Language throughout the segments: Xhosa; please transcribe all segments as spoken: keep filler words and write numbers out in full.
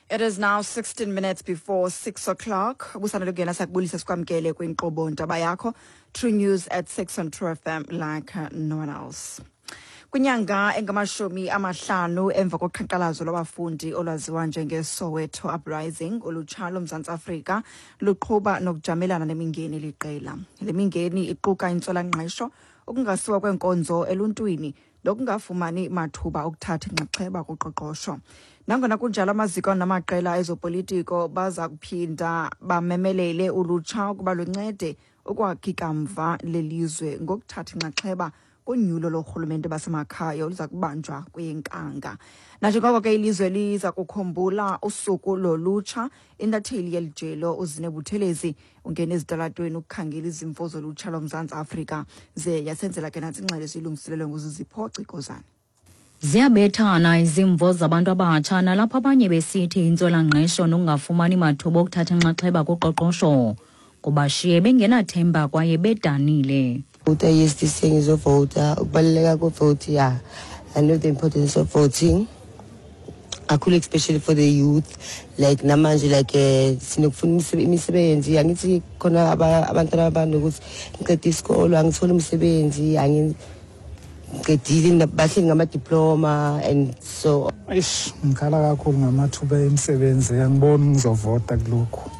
It is now sixteen minutes before six o'clock. Busana lugena sakubulisa sikwamkele kwinkqubo Ndaba Yakho. True News at six on True F M like no one else. Kwinyanga engamashumi amahlanu emva koqhankqalazo lwabafundi olwaziwa njengeSoweto Uprising, ulutsha loMzantsi Afrika luqhuba nokujamelana nemingeni liqela. Le mingeni iquka intswelangqesho, ukungasiwa kweenkonzo eluntwini nokungafumani mathuba okuthatha inxaxheba kuqoqosho. Nangona kunjalo, amaziko namaqela ezopolitiko baza kuphinda bamemelele ulutsha ukuba luncede ukwakha ikamva lelizwe ngokuthatha inxaxheba kunyulo lorhulumente basemakhaya oluza kubanjwa kwinkanga. Nanjengoko ke ilizwe liza kukhumbula usuku lolutsha, intatheli yelijelo uZine Buthelezi ungene ezitalatweni ukukhangela izimvo zolutsha loMzantsi Afrika, ze yasenzela ke nantsi ingxelo esiyilungiselelwe nguZizipho Cikozane. Ziyabethana izimvo zabantu abatsha, nalapho abanye besithi intswelangqesho nokungafumani mathuba okuthatha inxaxheba kuqoqosho kubashiye bengenathemba kwaye bedanile. Vota, yes, this thing is a voter. Ukubaluleka kwe-vote, yeah. I know the importance of voting. Kakhulu, especially for the youth. Like namanje, like, eh, sinokufuna imise-, imisebenzi. Angithi khona aba-, abantwana abanokuthi ngiqede isikolo, angitholi umsebenzi, angiqedile, bahleli ngama-diploma and so. Eish, ngikhala kakhulu ngamathuba emisebenzi, angiboni ngizovota kulokhu.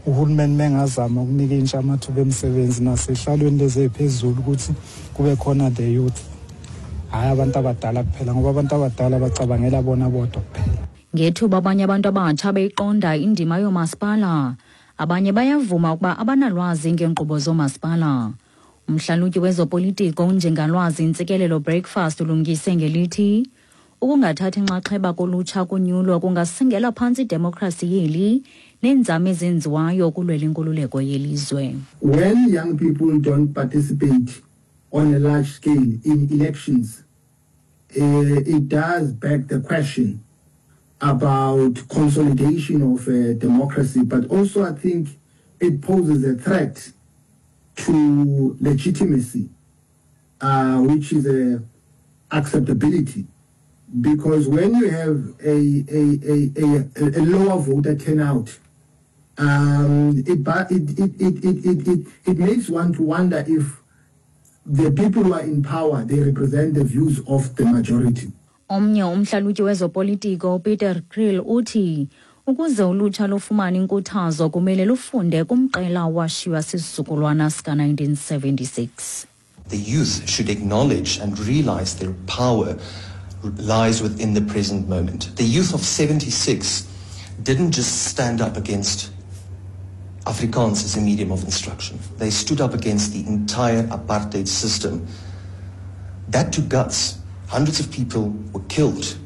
Uhulumeni mengazama ukunika intsha amathuba emisebenzi nasehlalweni lezi eziphezulu ukuthi kube khona the youth, hhayi abantu abadala kuphela, ngoba abantu abadala bacabangela bona bodwa kuphela. Ngethuba abanye abantu abatsha beyiqonda indima yoomasipala, abanye bayavuma ukuba abanalwazi ngeenkqubo zoomasipala. Umhlalutyi wezopolitiko uNjengalwazi Ntsikelelo Breakfast ulungise ngelithi ukungathathi inxaxheba kolutsha kunyulo kungasingela phantsi idemokhrasi yeli neenzame ezenziwayo ukulwela inkululeko yelizwe. When young people don't participate on a large scale in elections, uh, it does beg the question about consolidation of, uh, democracy, but also I think it poses a threat to legitimacy, uh, which is a acceptability. Because when you have a, a, a, a, a lower voter turnout, um, it, it, it, it, it, it, it, it makes one to wonder if the people who are in power, they represent the views of the majority. Omnye umhlalutyi wezopolitiko uPeter Kriel uthi ukuze ulutsha lufumane inkuthazo kumele lufunde kumqela owashiywa sisizukulwana sika nineteen seventy-six. The youth should acknowledge and realize their power lies within the present moment. The youth of seventy-six didn't just stand up against Afrikaans as a medium of instruction. They stood up against the entire apartheid system. That took guts. Hundreds of people were killed.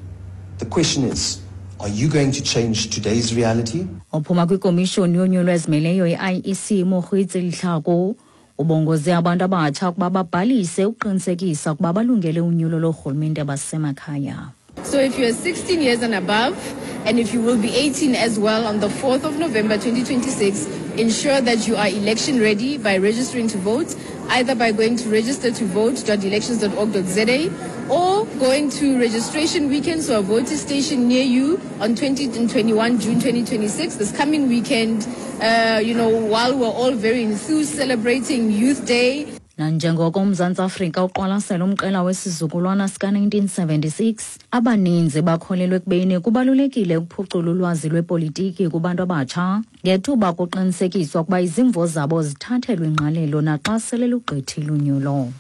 The question is, are you going to change today's reality? Ophuma kwikomishoni yonyulo ezimeleyo i-I E C Mokgweetsi Letlhako ubongoze abantu abatsha ukuba babhalise ukuqinisekisa ukuba balungele unyulo loorhulumente abasemakhaya. So if you are sixteen years and above, and if you will be eighteen as well on the fourth of November twenty twenty-six, ensure that you are election ready by registering to vote, either by going to register to vote dot elections dot org dot z a or going to registration weekend, so a voter station near you on twenty and twenty-one June twenty twenty-six, this coming weekend, uh, you know, while we're all very enthused celebrating Youth Day. Nanjengoko uMzantsi Afrika uqwalasela umqela wesizukulwana sika nineteen seventy-six, abaninzi bakholelwa ekubeni kubalulekile ukuphucula ulwazi lwepolitiki kubantu abatsha ngethuba kuqinisekiswa ukuba izimvo zabo zithathelwe ingqalelo naxa sele lugqithile unyulo.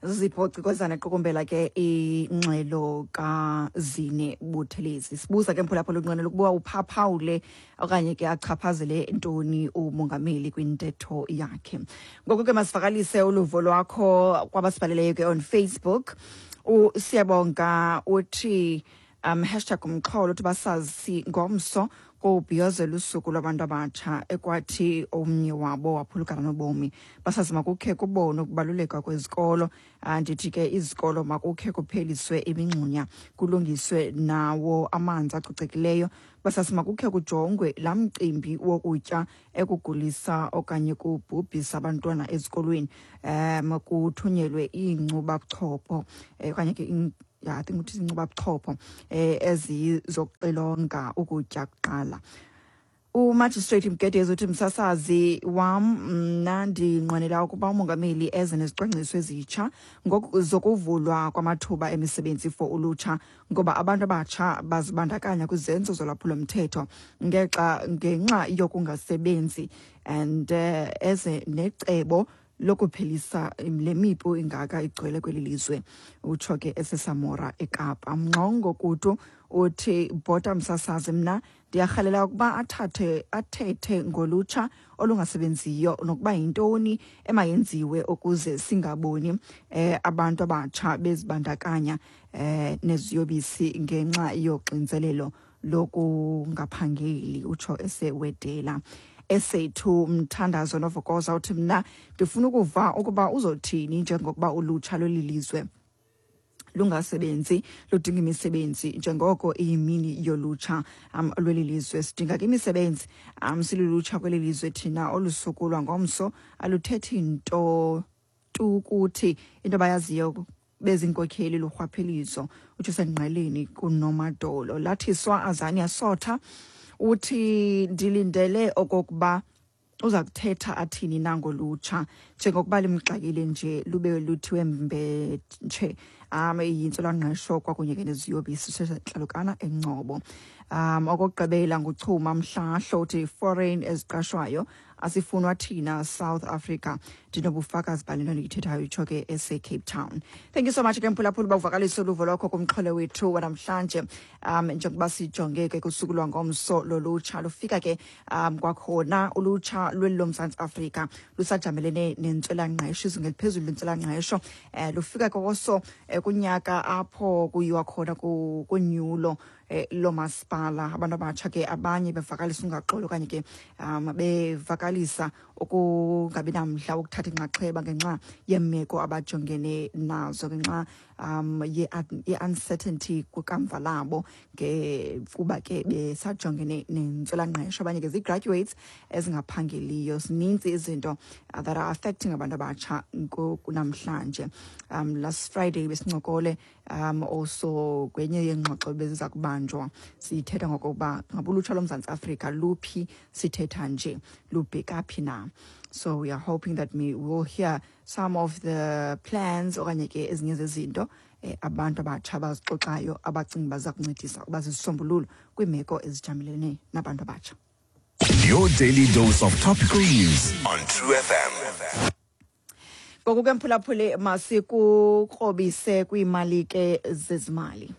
Zipho Cikozane qukumbela ke ingxelo kaZine Buthelezi. Sibuza ke mphulaphula unqwenela ukuba uphaphawule okanye ke achaphazele ntoni umongameli kwintetho yakhe. Ngoku ke masivakalise uluvo lwakho kwabasibhaleleyo ke on Facebook. USiyabonga uthi, um, hashtag umxholo uthi basazi ngomso kobhiyozela usuku lwabantu abatsha ekwathi omnye wabo waphulukana nobomi. Basazi makukhe kubonwe ukubaluleka kwezikolo. Andithi ke izikolo makukhe kupheliswe imingxunya, kulungiswe nawo amanzi acocekileyo. Basazi makukhe kujongwe laa mcimbi wokutya ekugulisa okanye kubhubhisa abantwana ezikolweni, um, kuthunyelwe iinkcubabuchopho, eh, okanye ke ya, I think uthi izinkcubabuchopho eh ezizoxilonga ukutya kuqala. Umagistrate Mgedezi uthi, "Msasazi wam, mna ndinqwenela ukuba umongameli eze nezicwangciso ezitsha zokuvulwa kwamathuba emisebenzi for ulutsha, ngoba abantu abatsha bazibandakanya kwizenzo zolwaphulomthetho ngexa ngenxa yokungasebenzi, and uh, eze necebo lokuphelisa le mipu ingaka igcwele kweli lizwe." Utsho ke eseSamora eKapa. Mngxongo Kutu uthi, "Bhota msasazi, mna ndiyarhalela ukuba athathe athethe ngolutsha olungasebenziyo nokuba yintoni emayenziwe ukuze singaboni eh, abantu abatsha bezibandakanya eh, neziyobisi ngenxa yoxinzelelo lokungaphangeli." Utsho esewedela. Esethu Mthandazo Novokoza uthi, "Mna ndifuna ukuva ukuba uzothini njengokuba ulutsha lweli lizwe lungasebenzi, ludinga imisebenzi, njengoko iyimini yolutsha um lweli lizwe. Sidinga ke imisebenzi um silulutsha kweli lizwe thina. Olu suku lwangomso aluthethi nto tu kuthi, into abayaziyo bezinkokheli lurhwaphilizo." Utsho sengqeleni kuNomadolo. Lathiswa Azania Sotha uthi, "Ndilindele okokuba uza kuthetha athini nangolutsha njengokuba limxakile nje, lube luthiwe mbetshe um yintswelangqesho kwakunye ke neziyobisi." Sesentlalukana eNgcobo. um okokugqibela nguChuma Mhlahlo uthi, "Foreign eziqashwayo asifunwa thina South Africa, ndinobufakazi bale nto ndiyithethayo." Itsho ke ese-Cape Town. Thank you so much ke mphulaphula uba uvakalise uluvo lwakho kumxholo wethu wanamhlanje, um njengoba sijonge ke kusuku lwangomso lolutsha. Lufika ke um kwakhona ulutsha lweli loMzantsi Afrika lusajamelene nentswelangqesho, izinga eliphezulu lentswelangqesho. um lufika koso eh, kunyaka apho kuyiwa khona kunyulo eh, lomasipala. Abantu abatsha ke abanye bevakalisa ungaxoli okanye ke um bevakalisa ukungabi namdla wokuthatha inxaxheba ngenxa yeemeko abajongene nazo, ngenxa um ye-uncertainty kwikamva labo, ke kuba ke besajongene nentswelangqesho. Abanye ke zii-graduates ezingaphangeliyo. Zininzi izinto uh, that are affecting abantu abatsha namhlanje. um last Friday besincokole um also kwenye yeengxoxo beziza kubanjwa, sithetha ngokokuba ngabe ulutsha loMzantsi Afrika luphi, sithetha nje lubheka phi na. So we are hoping that we will hear some of the plans okanye ke ezinye zezinto eh, abantu abatsha abazixoxayo, abacinga baza kuncedisa ukuba zizisombululo kwiimeko ezijamelene nabantu abatsha. Your daily dose of topical news on True F M. Ngoku ke mphulaphuli, masikukrobise kwiimali ke zezimali.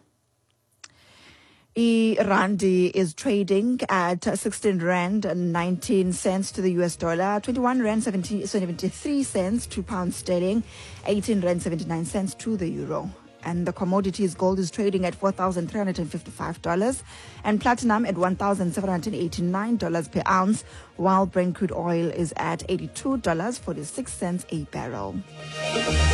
I-Randi is trading at sixteen rand nineteen cents to the U S dollar, twenty-one rand seventy, seventy-three cents to pound sterling, eighteen rand seventy-nine cents to the euro. And the commodities, gold is trading at four thousand three hundred fifty-five dollars and platinum at one thousand seven hundred eighty-nine dollars per ounce, while Brent crude oil is at eighty-two dollars forty-six cents a barrel.